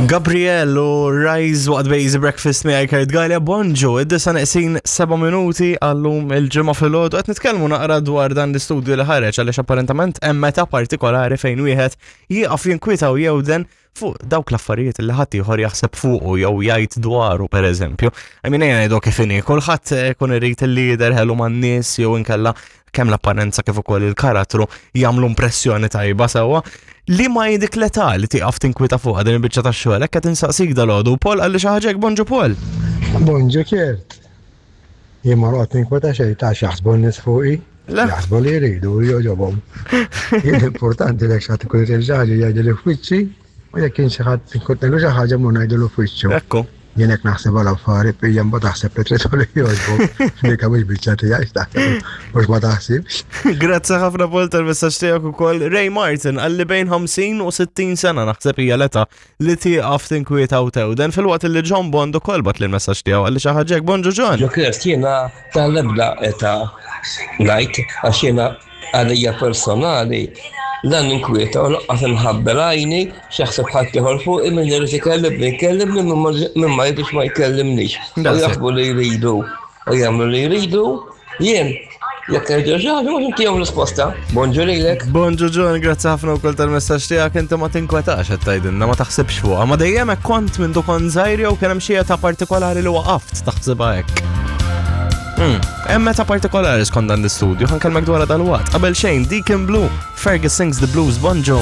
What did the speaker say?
Gabriel u Rise waqt Bejzi Breakfast miegħi Kurt Galea bonġu, id-disa neqsin 7 minuti għallum il-ġimgħa filgħodu qed nitkellmu naqra dwar dan l-istudju li ħareġ għaliex apparentament hemm meta partikolari fejn wieħed jieqaf jinkwita u jewden fuq dawk l-affarijiet li ħadd ieħor jaħseb fuqu jew jgħid dwaru pereżempju. I mean ejja ngħidu kif inhi, kulħadd ikun irid li jidher ħelu man-nies jew inkella kemm l-apparenza kif ukoll il-karattru jagħmlu impressjoni tajba sewwa. Li ma hi dik l-età li tieqaf tinkwita fuqha din il-biċċa tax-xogħol, hekk qed insaqsik dalgħodu. Paul qalli xi ħaġa hekk, bonġu Paul. Bonġu Kurt. Jien ma noqgħod ninkweta xejn ta' x'jaħsbu n-nies fuqi. Jaħsbu li jridu u jogħġobhom. Jien importanti li xi ħadd ikun irid xi ħaġa jgħidli f'wiċċi u jekk kien xi ħadd inkun ngħidlu xi ħaġa mmur ngħidulu f'wiċċu. Ekku. Jien hekk naħseb għal affari hija mbagħad taħseb li trid li jogħġbok. Dik mhux biċċa tiegħi x'taħseb mhux ma taħsibx. Grazzi ħafna Paul tal-messaġġ tiegħek ukoll. Ray Martin qalli bejn 50 u 60 sena naħseb hija l-età li tieqaf tinkwieta u tewden filwaqt li John Bond ukoll bat l-messaġġ tiegħu qalli xi ħaġa hekk. Bonġu John. Ġo Kirst jiena tal-ebda età ngħid għax jiena Għalija personali, la ninkwieta u lanqas inħabbel għajni x'jaħseb ħaddieħor fuqi min irid ikellimni jkellimni min ma jridx ma jkellimnix. U jaħsbu li jridu u jagħmlu li jridu, jien jekk jgħidu xi ħaġa mhux intihom risposta. Bonġu lilek. Bonġu John, grazzi ħafna wkoll tal-messaġġ tiegħek inti ma tinkwetax qed tgħidilna ma taħsibx fuqha, ma dejjem hekk kont minn kont żgħir jew kien hemm xi età partikolari li waqaft taħsibha hekk. Hemm meta partikolari skont dan l-istudju, ħankellmek dwar dal-waqt. Qabel xejn, Deacon Blue, Fergus sings the blues, bonġu.